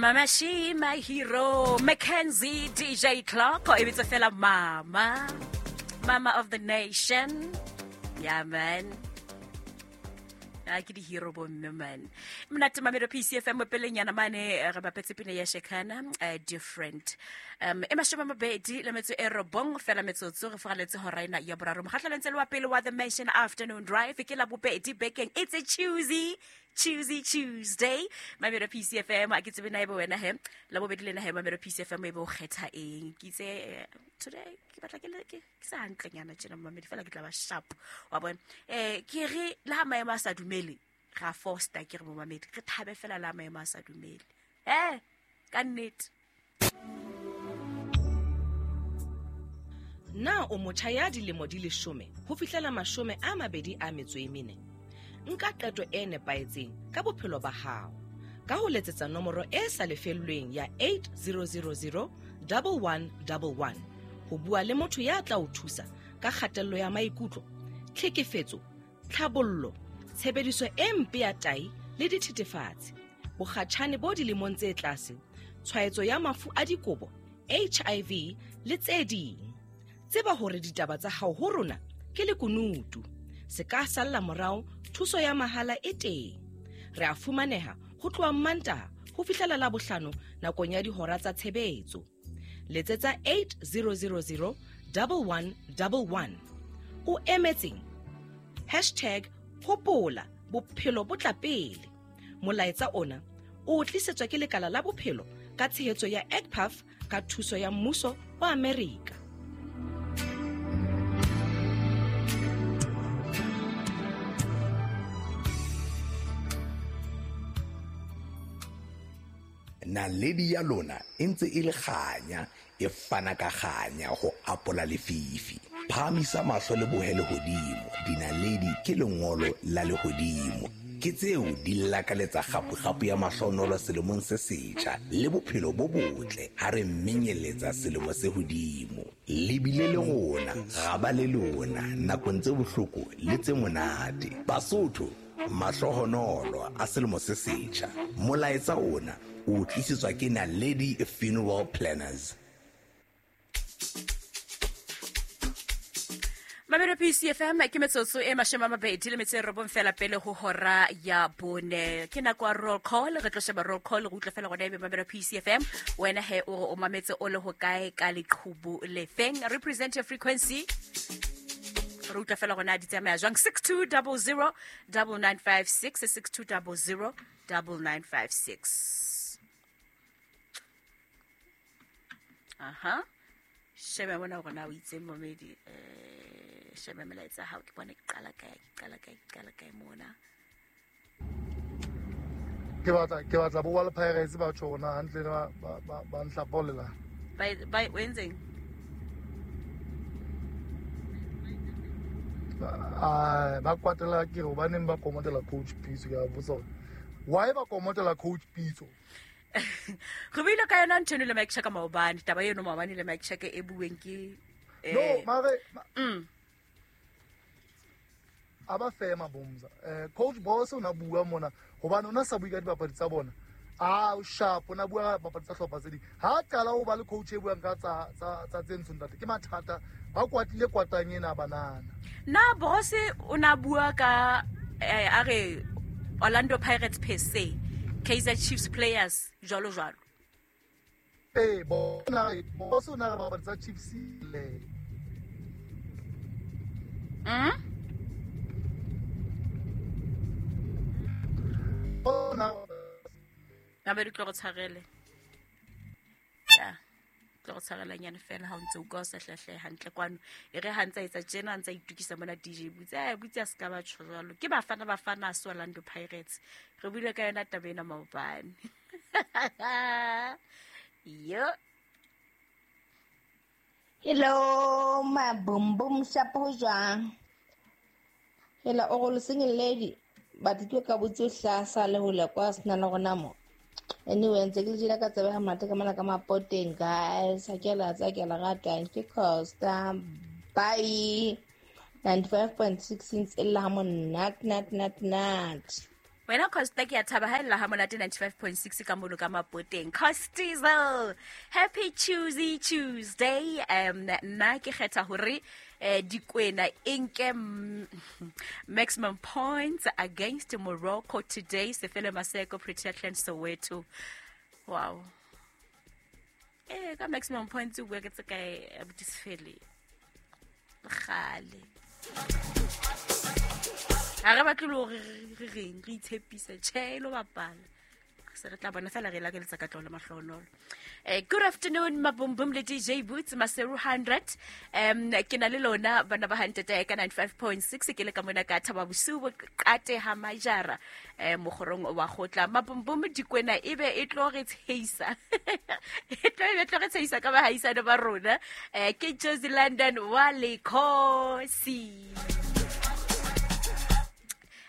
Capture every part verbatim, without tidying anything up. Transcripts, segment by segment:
Mama She, my hero, Mackenzie, D J Clark, e bitsa fela mama, mama of the nation. Yeah, man. A ke di hero bo mme man. Monate Mamelo P C F M pelenyana mane re bapetse pina ya Shekana, uh, different. Um e mashome a mabedi le metso e robong fela metsotso re fogaletse hora ena ya boraro. Mokgahlelo ntse le wa pele wa The Mansion Afternoon Drive ke la bobedi bekeng. It's a Tuesday. Tuesday, Tuesday. Mamelo P C F M a ke tsebe na ebe wena he. La bobedi lena he Mamelo P C F M e bo kgetha eng. Ke itse today ke batla ke le ke sa hantlenyana tjena mamedi fela ke tla ba sharp. Wa bona. Eh ke re le ha maemo a sa dumele ra foster ke re momamedi re thabe fela la maemo a sa dumele. Eh ka nnete. Na o motjha ya dilemo di leshome ho fihlela mashome a mabedi a metso e mene? Nka qeto e nepahetseng ka bophelo ba hao ka ho letsetsa nomoro e sa lefellweng ya eight zero zero zero one one one one ho bua le motho ya tla o thusa ka kgatello ya maikutlo, tlhekefetso, tlhabollo, tshebediso e mpe ya tahi le dithethefatsi, bokgatjhane bo dilemong tse tlase, tshwaetso ya mafu a dikobo, H I V le tse ding. Tseba hore ditaba tsa hao ho rona ke lekunutu. Se ka salla morao, thuso ya mahala e teng. Re a fumaneha ho tloha Mantaha ho fihlela Labohlano nakong ya dihora tsa tshebetso. Letsetsa eight zero zero zero one one one one. O emetseng? Hashtag hopola bophelo bo tla pele. Molaetsa ona o tlisetswa ke lekala la bophelo ka tshehetso ya E C P A F ka thuso ya mmuso wa Amerika. Naledi ya lona e ntse e le kganya, e fana ka kganya ho apola lefifi. Phahamisa mahlo le bohe lehodimo, dinaledi ke lengolo la lehodimo. Ke tseo di lakaletsa kgapo-kgapo ya mahlonolo selemong se setjha le bophelo bo botle ha re menyeletsa selemo se hodimo. Le bile le rona, ra ba le lona nakong tse bohloko le tse monate. Basotho, mahlohonolo a selemo se setjha. Molaetsa ona o tlisetswa ke Naledi Funeral Planners. Mamelo P C F M ke metsotso e mashome a mabedi le metso e robong fela pele ho hora ya bone. Ke nako ya roll call, re tlo sheba roll call re utlwe fela gona ebe Mamelo P C F M wena he o re o mametse o le ho kae ka leqhubu lefeng. Represent your frequency. Re utlwe fela gona di tsamaya jwang. Six two double zero double nine five six, six two double zero double nine five six. Aha. Shebe mona hore na o itseng momedi, eh shebe melaetsa hao ke bone ke qala kae, ke qala kae, ke qala kae mona. Ke batla ke batla bo wa le Pirates ba tjho hona hantle ba ba ba nhlapolela. Ba ba o entseng? Ah ba kwatela ke hobaneng ba komotela coach Pitso, ke a botsa hore why ba komotela coach Pitso? Re buile ka yona ntho eno le Mike Chaka maobane, taba eno maobane le Mike Chaka e bueng ke eh No, mare mm a ba fema bomza. Eh coach Boss o na bua mona hobane ona sa bua ka dibapadi tsa bona. Ah o sharp ona bua bapadi tsa hlopha tse ding. Ha qala o ba le coach e buang ka tsa tsa tsa tse ntsho ntate ke mathata ba kwatlile kwatang ena banana. Na Boss o na bua ka eh, a re Orlando Pirates per se, Kaizer Chiefs players jwalo jwalo. Eh bona Boss o na re bapadi tsa Chiefs le. Mm? Bona Gabe re tlo go tshwarele. Ya. Tlo go tshwarela nyane fela ha o ntse o ka o sa hlahle hantle kwano. E re ha ntse a etsa tjena a ntse a itukisa mona D J Butse. Eh Butse a ska ba tjho jwalo. Ke Bafana Bafana a Orlando Pirates. Re buile ka yona taba ena maobane. Yo. Hello, my boom boom shapo jwang. Hello, o go single lady. But ke ka botse hlasa le hole kwa sena le gona mo. Anyway, ntse ke le jela ka tsebe ha mate ka mona ka mapoteng guys. Ha ke la tsa ke la rata ke Costa. Bye. ninety-five point six ntse e lla ha monate nat nat nat. Wena Costa ke a thaba ha ella ha monate ninety-five point six ka mono ka Mapoteng. Costizel, happy Tuesday Tuesday. Um nna ke kgetha hore eh Dikwena enke maximum points against Morocco today. Sefele Maseko, Pretoria, Soweto. Wow. Eh ka maximum points o bua ke tse kae abuti Sefele? Kgale. Ha re batle le hore re reng re itshepise tjhe lo bapala. Se re tla bona fela re lakeletsa ka tlolo mahlonolo. Eh good afternoon Mabumbum le D J Boots Maseru hundred. Um ke na le lona bana ba hantete ka ninety-five point six ke le ka mona ka Thaba Bosiu bo qate ha majara eh mogorong wa gotla. Mabumbum Dikwena ebe e tlo re tsheisa. E tlo e tlo re tsheisa ka ba haisana ba rona. Eh ke Josie London wa Lekhosi.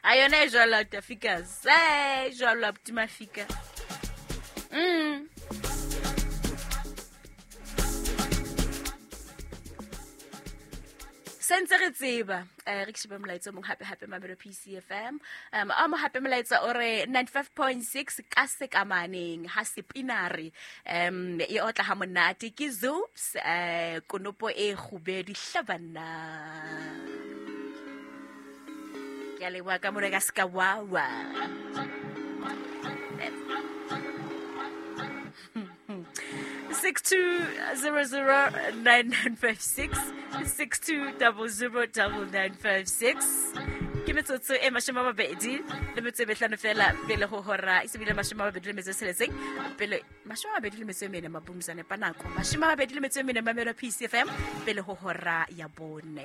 Ayona e jwalo Afrika se jwalo Mafika. Mm. Sentse re tseba eh re ke shebe molaetsa mong hape hape Mamelo P C F M. Um a mo hape molaetsa o re ninety-five point six ka sekamaneng ha sepinare um e otla ha monate ke Zoops eh konopo e kgubedi hlabana. Ke a leboha ka mora ka ska wawa. six two zero zero nine nine five six six two zero zero nine nine five six. Ke metsotso e mashome a mabedi le metso e mehlano fela pele ho hora e sebile mashome a mabedi le metso e tsheletseng pele mashome a mabedi le metso e mene mabumzane pa nako mashome a mabedi le metso e mene Mamelo P C F M pele ho hora ya bone.